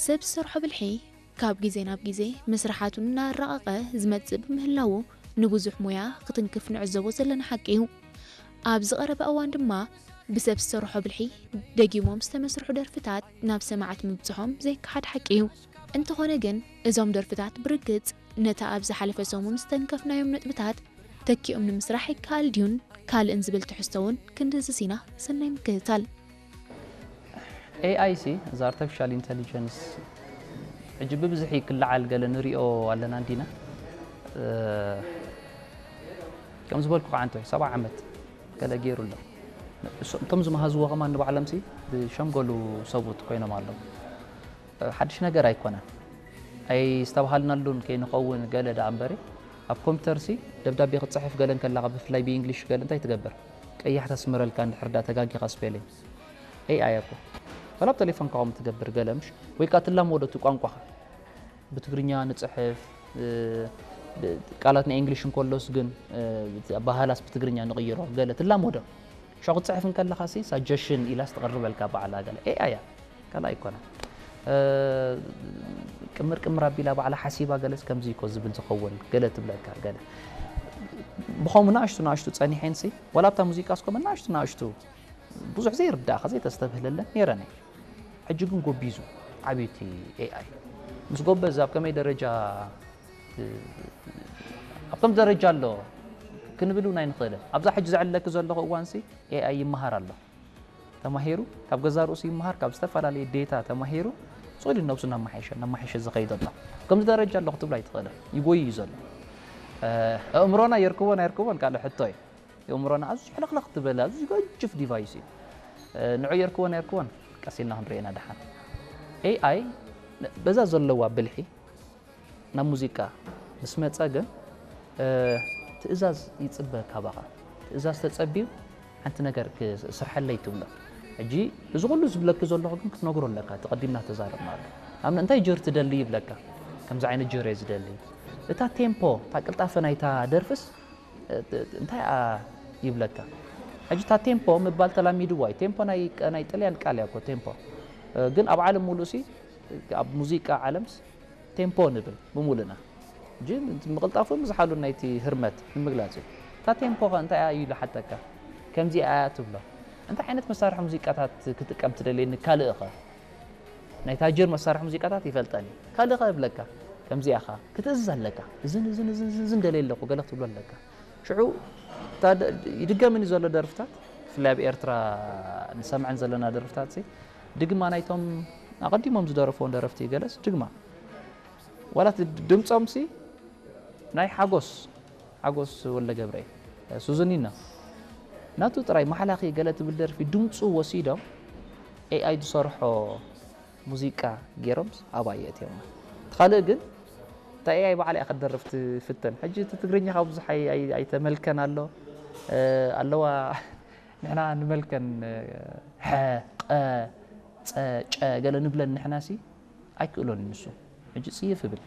ሰብ ዝሰርሖ ብልሒ ካብ ግዜ ናብ ግዜ መስርሓቱ እናራቐቐ ዝመጽእ ብምህላዉ፣ ንብዙሕ ሞያ ክትንክፍ ንዕዘቦ ዘለና ሓቂ እዩ። ኣብ ዝቐረበ እዋን ድማ፣ ብሰብ ዝሰርሖ ብልሒ ደጊሞም ዝተመስርሑ ደርፍታት ናብ ሰማዕት ምብጽሖም ዘይከሓድ ሓቂ እዩ። እንተኾነ ግን፣ እዞም ደርፍታት ብርግጽ ነታ ኣብ ዝሓለፈ ሰሙን ዝተንከፍናዮም ነጥብታት ተኪኦም ንምስራሕ ይከኣል ድዩን ካልእን ዝብል ትሕዝቶ እውን ክንድህስስ ኢና። ሰናይ ምክትታል። ኤኣይ ሲ፣ እዚ ኣርቲፊሻል ኢንተሊጀንስ፣ ሕጂ ብብዝሒ ክለዓል ገለ ንሪኦ ኣለና እንዲና። እ፣ ከም ዝበልኩ ከዓ እንተ ሰብዓ ዓመት ገለ ገይሩ ኣሎ። እሶ-፣ እቶም ዝመሃዝዎ ከማን ንባዕሎም ሲ ብሸምገሉ ሰብኡት ኮይኖም ኣለዉ። እ፣ ሓድሽ ነገር ኣይኮነን። ኣይስተብሃልናሉን ከይንኸውን ገለ ደኣ እምበሪ፣ ኣብ ኮምፒተር ሲ ደብዳቤ ክትጽሕፍ ገለ እንከላኻ፣ ብፍላይ ብኢንግሊሽ ገለ እንታይ ትገብር? ቀያሕ ተስምረልካ እንድሕር ደኣ ተጋጊኻ ስፔሊንግ። ኤኣይ እኮ። ወላ ኣብ ቴሌፎንካ ከምኡ ትገብር ገለ ምሽ? ወይ ከኣ ትላመዶ እቲ ቋንቋኻ። ብትግርኛ ንጽሕፍ፣ እ፣ ብ-፣ ቃላት ናይ ኢንግሊሽ እንከሎስ ግን፣ እ፣ ኣበሃህላስ ብትግርኛ ንቕይሮ ገለ ትላመዶ። ሽዑ ክትጽሕፍ እንከለኻ ሲ ሳጀሽን ኢላስ ትቕርበልካ ባዕላ ገለ። ኤኣይ እያ። ካልእ ኣይኮነን። እ፣ ቅምር ቅምር ኣቢላ ባዕላ ሓሲባ ገለስ ከምዚ እኮ ዝብል ዝኸውን ገለ ትብለካ ገለ። ብኸምኡ ንኣሽቱ ንኣሽቱ ጸኒሐን ሲ፣ ዋላ ኣብታ ሙዚቃ እስኮ ንኣሽቱ ንኣሽቱ ብዙሕ ዘይርዳእኻ ዘይተስተብህለለን ነይረን እየ። ሕጂ ግን ጎቢዙ ዓብዩ እቲ ኤኣይ። ምስ ጎበዝ ኣብ ከመይ ደረጃ፣ እ፣ ኣብ ከም ደረጃ ኣሎ ክንብል እውን ኣይንኽእልን። ኣብዛ ሕጂ ዘዕለኪ ዘለኹ እዋንሲ ኤኣይ ይመሃር ኣሎ። ተማሂሩ፣ ካብ ገዛ ርእሱ ይመሃር፣ ካብ ዝተፈላለየ ዴታ ተማሂሩ፣ ጽሉል ነብሱ እናመሓየሸ፣ እናመሓየሸ ዝኸይድ ኣሎ። ኣብ ከምዚ ደረጃ ኣሎ ክትብሎ ኣይትኽእልን። ይጎይ እዩ ዘሎ። እ፣ ኣእምሮና የርክቦን ኣይርክቦን ካልእ ሕቶ እዩ። ኣእምሮና ኣዝዩ ሕልኽልኽ ትበል፣ ኣዝዩ ገጅፍ ዲቫይስ እዩ። እ፣ ንዑ የርክቦን ኣይርክቦን ቀስ ኢልና ክንሪኦ ኢና ደሓን። ኤኣይ በዛ ዘለዋ ብልሒ ናብ ሙዚቃ ምስ መጸ ግን፣ እ፣ ትእዛዝ ይጽበ ካባኻ። ትእዛዝ ተጸብዩ ሓንቲ ነገር ክስርሐለይ ትብሎ። ሕጂ እዚ ኩሉ ዝብለኪ ዘለኹ ግን ክትነግሮ ኣለካ፣ እቲ ቀዲምና ተዛረብናሉ። ኣብ እንታይ ጀር ትደሊ ይብለካ፣ ከምዚ ዓይነት ጀር እየ ዝደሊ። እታ ቴምፖ፣ እታ ቅልጣፈ ናይታ ደርፍስ፣ እ፣ እ፣ እንታይ እያ ይብለካ። ሕጂ እታ ቴምፖ ምባል ተላሚድዋ እዩ። ቴምፖ ናይ፣ ናይ ጥልያን ቃል እያ እኮ ቴምፖ። እ፣ ግን ኣብ ዓለም ሙሉእ ሲ፣ ኣብ ሙዚቃ ዓለምስ ቴምፖ ንብል ብሙሉና። ሕጂ ምቕልጣፉ ምዝሓሉ ናይቲ ህርመት ንምግላጽ እዩ። እታ ቴምፖ ኸ እንታይ እያ ኢሉ ሓተካ። ከምዚኣ እያ ትብሎ። እንታይ ዓይነት መሳርሒ ሙዚቃታት ክጥቀም ትደልየኒ ካልእ ኸ? ናይ ታጅር መሳርሒ ሙዚቃታት ይፈልጠን እዩ። ካልእ ኸ እብለካ። ከምዚኣ ኸ ክትእዝዝ ኣለካ። እዝን፣ እዝን፣ እዝን፣ እዝን፣ እዝን ደልየ ኣለኹ። ገለ ክትብሎ ኣለካ። ሽዑ፣ እታ ደ-፣ ይድገምን እዩ ዘሎ ደርፍታት። ብፍላይ ኣብ ኤርትራ ንሰምዐን ዘለና ደርፍታት ሲ፣ ድግማ ናይቶም ኣቐዲሞም ዝደረፍዎም ደረፍቲ ገለስ ድግማ። ዋላ እቲ ድምጾም ሲ፣ ናይ ሓጎስ፣ ሓጎስ ወልደገብርኤል፣ ሱዙኒና፣ ናቱ ጥራይ ማሕላኺ ገለ ትብል ደርፊ ድምጹ ወሲዶም ኤኣይ ዝሰርሖ ሙዚቃ ገይሮምስ ኣብኣ የእትዮማ። እቲ ካልእ ግን እታ ኤኣይ ባዕላ እያ ክትደርፍ ትፍተን። ሕጂ እቲ ትግርኛ ካብ ብዙሕ ኣይ-፣ ኣይ-፣ ኣይተመልከን ኣሎ። እ፣ ኣለዋ ንሕና ንመልከን፣ እ፣ ሐ፣ ቐ፣ ጸ፣ ጨ ገለ ንብለን ንሕና ሲ ኣይክእሎን እዩ ንሱ። ሕጂ ጽይፍ እብል።